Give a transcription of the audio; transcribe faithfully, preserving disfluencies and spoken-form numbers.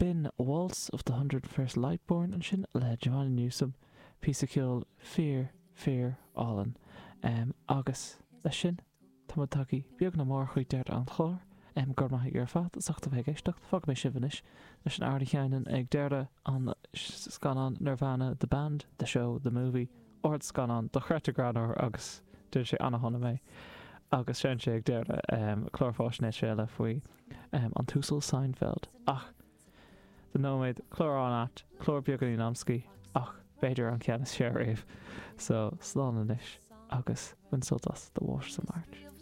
B'in Waltz of the Hundred and First Lightborn ansin le Joanna Newsom, píosa ceoil fíor, fíor álainn. Agus leis sin, tá muid tagtha beag nach mór chuig deireadh an chláir. Go raibh maith agaibh ar fad as ucht a bheith ag éisteacht. Fágfaidh mé sibh anois leis an amhrán a sheinneann ag deireadh an scannáin Nirvana, The Band, The Show, The Movie, ardscannán dochreidte greannmhar agus déanann sé an-shona mé. Agus seinneann sé ag deireadh clár fáisnéise eile faoi an tUasal Seinfeld. Ach do nóiméad, clár an-ait, clár beagáinín amscaí, ach b'fhéidir an ceann is fearr riamh. So, slán anois agus bain sult as The Waters of March.